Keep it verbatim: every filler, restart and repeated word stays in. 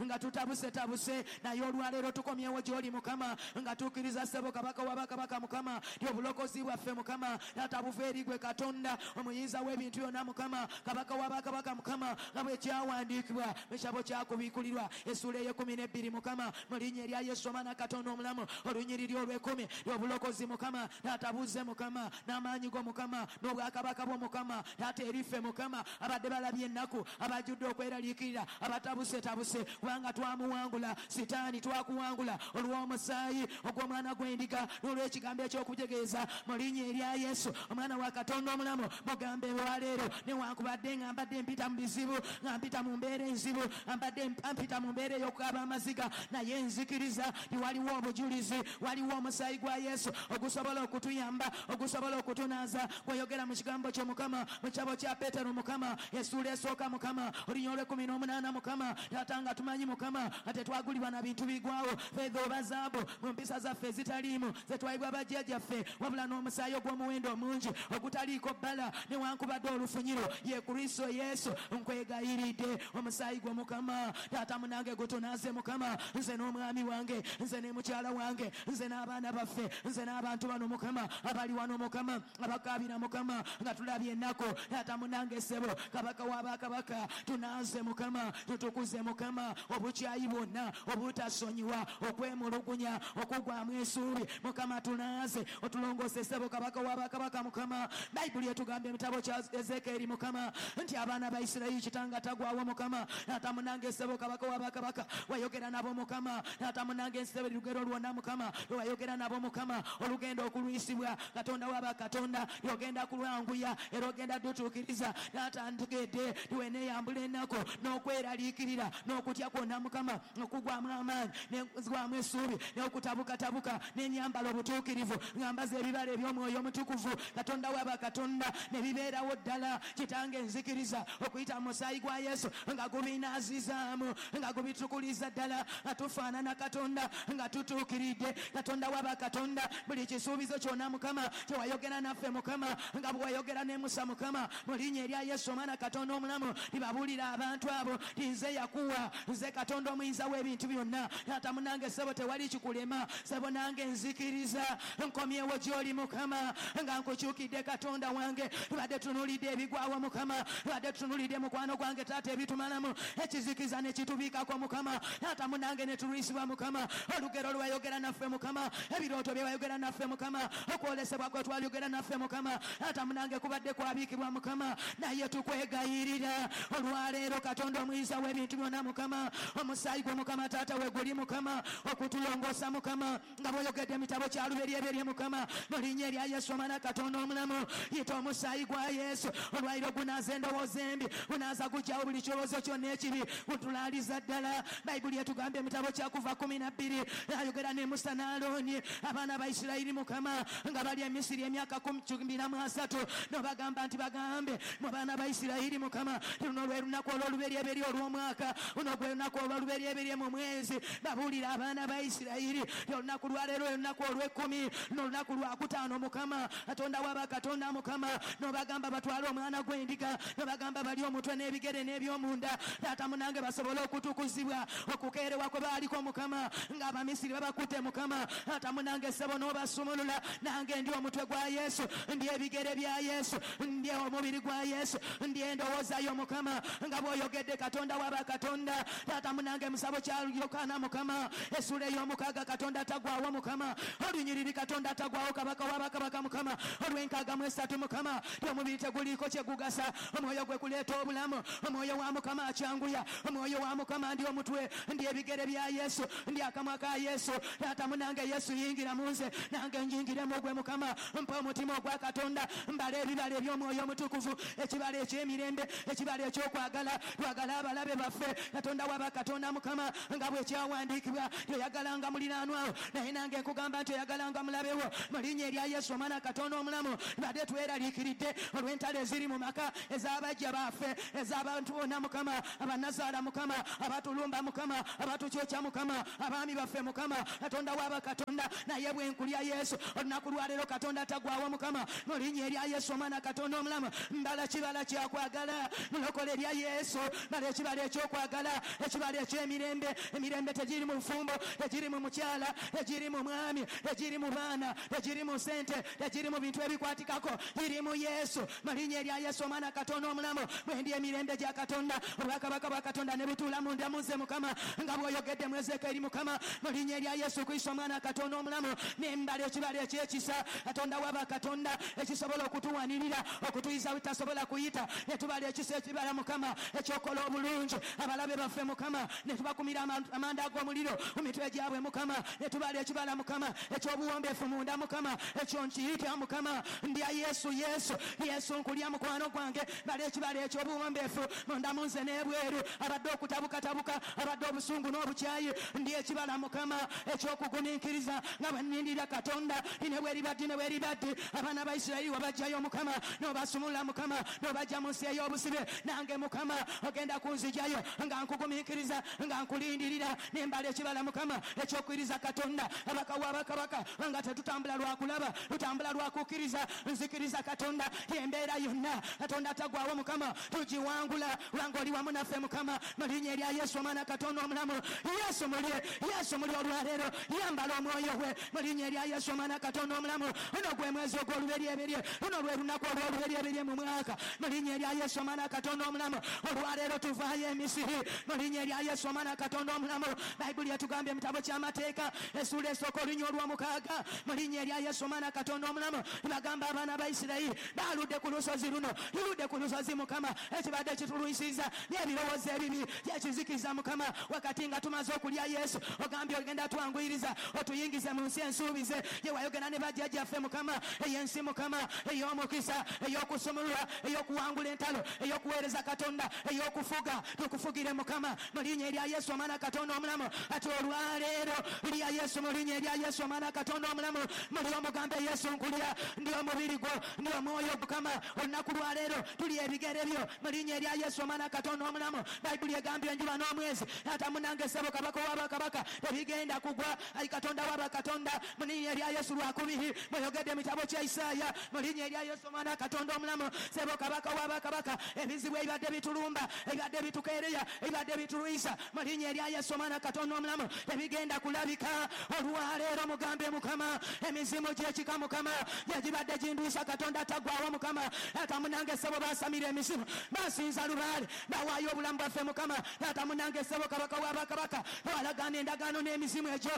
nga tutabusetabuse, naye olwaleero tukomyewo gy'oli Mukama, nga tukkiriza ssebo Kabaka wa bakabaka Mukama, nti obulokozi bwaffe Mukama taata buva eri gwe Katonda omuyinza w'ebintu byonna Mukama, Kabaka wa bakabaka Mukama, nga bwe kyawandiikibwa mu kitabo kyakubiikulirwa essuula ey'ekkumi n'ebbiri Mukama, mu linnya erya Yesu Omwana Katonda omulamu, olunyiriri olw'ekkumi, obulokozi Mukama taata buze Mukama, n'amaanyi go Mukama, n'obwakabaka bwo Mukama taata eriffe Mukama, abadde balabye ennaku, abajjudde okweraliikirira, abatabusetabuse, kubanga twamuwangula Sitaani, twakuwangula olw'omusaayi ogw'omwana gw'endiga n'olw'ekigambo eky'okutegeeza mu linnya erya Yesu Omwana wa Katonda omulamu. Mugambe olwaleero, newankubadde nga mbadde mpita mu bizibu, nga mpita mu mbeera enzibu, mbadde mpita mu mbeera ey'okukaaba amaziga, naye nzikiriza nti waliwo obujulizi, waliwo omusaayi gwa Yesu ogusobola okutuyamba, ogusobola okutunaaza. Gweyogera mu kigambo kyo Mukama, mu kitabo kya Peetero Mukama, essuula esooka Mukama, olunya olw'ekkumi n'omunaana Mukama, taata nga tumanyi Mukama nga tetwagulibwa na bintu bigwawo, feeza oba zaabu, mu mpisa zaffe ezitaliimu zetwayibwa bajjajjaffe, wabula n'omusaayi ogw'omuwendo omungi ogutaliiko bbala newankubadde olufunyiro, ye Kristo Yesu. Nkwegayiridde omusaayi gwo Mukama taata munange gutunaaze Mukama, nze n'omwami wange, nze ne mukyala wange, nze n'abaana baffe, nze n'abantu bano Mukama abali wano Mukama, abakaabira Mukama nga tulabye ennaku. Taata munange ssebo Kabaka w'abakabaka, tunaaze Mukama, tutukuze Mukama obukyayi bwonna, obutasonyiwa, okwemulugunya, okugwamu essuubi Mukama, tunaaze otulongoose ssebo Kabaka w'abakabaka Mukama. Bayibuli etugambye mu kitabo kya Ezekeeri Mukama nti abaana ba Isirayiri kitanga tagwawo Mukama. Taata munange ssebo Kabaka w'abakabaka, wayogera nabo Mukama. Taata munange ssebo lugero lwonna Mukama lwewayogera nabo Mukama, olugenda okulwisibwa Katonda w'abakatonda, lyogenda kulwanguya era ogenda dutuukiriza. Taata ntegedde tiweneeyambula ennaku n'okweraliikirira n'okutya kwonna Mukama, okugwamu amaanyi n'okugwamu essuubi n'okutabukatabuka, n'enyambala obutuukirivu, ngambaza ebibala eby'omwoyo omutukuvu Katonda w'abakatonda, ne bibeerawo ddala. Kitange nzikiriza okuyita mu musaayi gwa Yesu nga gubinaazizaamu, nga gubitukuliza ddala, nga tufaanana Katonda, nga tutuukiridde Katonda w'abakatonda. Buli kisuubizo kyonna Mukama kyewayogera naffe Mukama, nga bwewayogera ne Musa Mukama, mu linnya erya Yesu Omwana Katonda omulamu, libabuulira abantu abo nti nze Yakuwa, nze Katonda omuyinza w'ebintu byonna. Taata munange ssebo tewali kikulema, ssebo nange nzikiriza nkomyewo gy'oli Mukama, nga nkukyukidde Katonda wange. Tubadde tunuulidde ebigwawo Mukama, tubadde tunuulidde mukwano gwange taata ebitumalamu, ekizikiza ne kitubiikako Mukama. Taata munange ne tulwisibwa Mukama, olugero lwayogera naffe Mukama, ebirooto bye wayogera naffe Mukama, okwolesebwa kwe twayogera naffe Mukama, taata munange kubadde kwabiikibwa Mukama, naye tukwegayirira olwaleero Katonda omuyinza w'ebintu byonna Mukama, omusaayi gwo Mukama taata we guli Mukama okutulongoosa Mukama, nga bw'oyogedde mu kitabo kya Lubereberye Mukama, mu linnya erya Yesu Omwana Katonda omulamu, yita omusaayi gwa Yesu olwaliro gunaaza endowooza embi, gunaaza guggyawo buli kirowoozo kyonna ekibi, gutulaaliza ddala. Bayibuli etugambye mu kitabo kya Kuva kumi na bbiri, ayogera ne Musa ne Alooni, abaana ba Isirayiri Mukama nga bali e Misiri emyaka kumi na mu asatu, n'obagamba nti bagambe mu baana ba Isirayiri Mukama, luno lwe lunaku olw'olubereberye olw'omwaka, luno gwe lunaku olw'olubereberye mu mwezi. Babuulira abaana ba Isirayiri olunaku lwaleero olunaku olw'ekkumi, luno olunaku lwakutaano Mukama Katonda w'abakatonda Mukama, n'obagamba batwale omwana gw'endiga, n'obagamba bali omutwe n'ebigere n'ebyomunda, taata munange basobole okutukuzibwa okukeerewa kwe baaliko Mukama, ng'Abamisiri babakutte Mukama. Taata munange ssebo n'obasumulula, nange ndi omutwe gwa Yesu, ndi ebigere bya Yesu, ndi omubiri gwa Yesu, ndi endowooza yo Mukama, nga bw'oyogedde Katonda w'abakatonda. Taata munange musabo kya Yokaana Mukama, essuula ey'omukaaga Katonda tagwawo Mukama, olunyiriri Katonda tagwawo Kabaka w'abakabaka Mukama, olw'enkaaga mu esatu Mukama, ti omubiri teguliiko kye gugasa, omwoyo gwe kuleeta obulamu, omwoyo wa Mukama akyanguya, omwoyo wa Mukama ndi omutwe, ndi ebigere bya Yesu, ndi akamwa ka Yesu. Taata munange Yesu yingira mu nze, nange njingiremu gwe Mukama, mpa omutima ogwa Katonda, mbala ebibala eby'omwoyo omutukuvu, ekibala eky'emirembe, ekibala eky'okwagala, twagala abalabe baffe Katonda w'abakatonda Mukama, nga bwe kyawandiikibwa toyagalanga muliraanwawo, naye nange nkugamba nti oyagalanga mulabewo, mu linnya erya Yesu Omwana Katonda omulamu. Tubadde tweraliikiridde olw'entalo eziri mu maka ez'abajja baffe, ez'abantu bonna Mukama, abannazaala Mukama, abatulumba Mukama, abatukyokya Mukama, abaami baffe Mukama, Katonda w'abakatonda, naye bwe nkulya Yesu olunaku lwaleero Katonda tagwawo Mukama, mu linnya erya Yesu Omwana Katonda omulamu, mbala kibala kyakwagala, mulokole erya Yesu, mbala ekibala ekyokwagala, Ekibala eky'emirembe, emirembe tegiri mu bufumbo, tegiri mu mukyala, tegiri mu mwami, tegiri mu baana, tegiri mu ssente, tegiri mu bintu ebikwatikako, giri mu Yesu. Mu linnya erya Yesu Omwana Katonda omulamu, bwe ndi emirembe gya Katonda, obwakabaka bwa Katonda ne butuula munda mu nze Mukama, nga bw'oyogedde mu Ezeekyeri Mukama, mu linnya erya Yesu Kristo Omwana Katonda omulamu, nembala ekibala eky'ekisa, Katonda waba Katonda ekisobola okutuwanirira, okutuyiza bitasobola kuyita, ne tubala ekisa ekibala Mukama ekyokola obulungi abalabe baffe Mukama, ne tubakumira amanda ag'omuliro mu mitwe gyabwe Mukama, ne tubala ekibala Mukama eky'obuwombeefu munda Mukama, ekyo nkiyita Mukama, ndya Yesu, Yesu, Yesu nkulya mukwano gwange, bala ekibala eky'obuwombeefu munda mu nze n'ebweru, abadde okutabukatabuka, abadde obusungu n'obukyayi, ndi ekibala Mukama ekyokugumiikiriza nga bwe nnindira Katonda, ne bwe libadde ne bwe libadde, abaana ba Isirayiri wabajjayo Mukama, n'obasumulula Mukama, n'obajja mu nsi ey'obusibe, nange Mukama ogenda kunzijayo nga nkugumiikiriza, nga nkulindirira, nembala ekibala Mukama ekyokukkiriza Katonda, abaka w'abakabaka, nga tetutambula lwa kulaba, tutambula lwa kukkiriza, nzikiriza Katonda embeera yonna, Katonda tagwawo Mukama, tugiwangula lwanga oli wamu naffe Mukama, mu linnya erya Yesu Omwana Katonda omulamu. Yesu mulye, Yesu mulye olwaleero, yambala omwoyo gwe mu linnya erya Yesu Omwana Katonda omulamu. Luno gwe mwezi ogw'oluberyeberye, luno lwe lunaku olw'oluberyeberye mu mwaka, mu linnya erya Yesu Omwana Katonda omulamu. Olwaleero tuvaayo Emisiri mu linnya erya Yesu Omwana Katonda omulamu. Bayibuli etugambye mu kitabo ky'amateeka essuula esooka olunya olw'omukaaga, mu linnya erya Yesu Omwana Katonda omulamu, bagamba abaana ba Isirayiri baludde ku lusozi luno, luludde ku lusozi Mukama, ekibadde kitulwisiza n'ebirowoozo ebibi byekizikiza Mukama, wakati nga tumaze okulya Yesu, ogambye ogenda twanguyiriza otuyingize mu nsi ensuubize gye wayogera ne bajjajjaffe Mukama, ey'ensi Mukama ey'omukisa, ey'okusumulula, ey'okuwangula entalo, ey'okuweereza Katonda, ey'okufuga, tukufugire Mukama mu linnya erya Yesu Omwana Katonda omulamu. Ate olwaleero lya Yesu mu linnya erya Yesu Omwana Katonda omulamu, muli omugambe Yesu nkulya, ndi omubiri gwo, ndi omwoyo Mukama, olunaku lwaleero tuli ebigere byo mu linnya erya Yesu Omwana Katonda omulamu. Bayibuli egambye enjuba n'omwezi, ate munange ssebo kabaka w'abakabaka tebigenda kugwa, ayi Katonda w'abakatonda mu linnya erya Yesu lwakubiri, mweyogedde mu kitabo kya Isaaya mu linnya erya Yesu Omwana Katonda omulamu, ssebo kabaka w'abakabaka, ebizibu ebibadde bitulumba, ebibadde bitukeereya, ebibadde bitulwisa, mu linnya erya Yesu Omwana Katonda omulamu tebigenda kulabika. Olwaleero mugambe Mukama, emizimu gy'ekika Mukama gyegibadde gindwisa, Katonda tagwawo Mukama, ate munange ssebo basamira emizimu, basinza lubaale, bawaayo obulamu bwaffe Mukama, ate munange ssebo kabaka w'abakabaka, twalagaana endagaano n'emizimu egyo.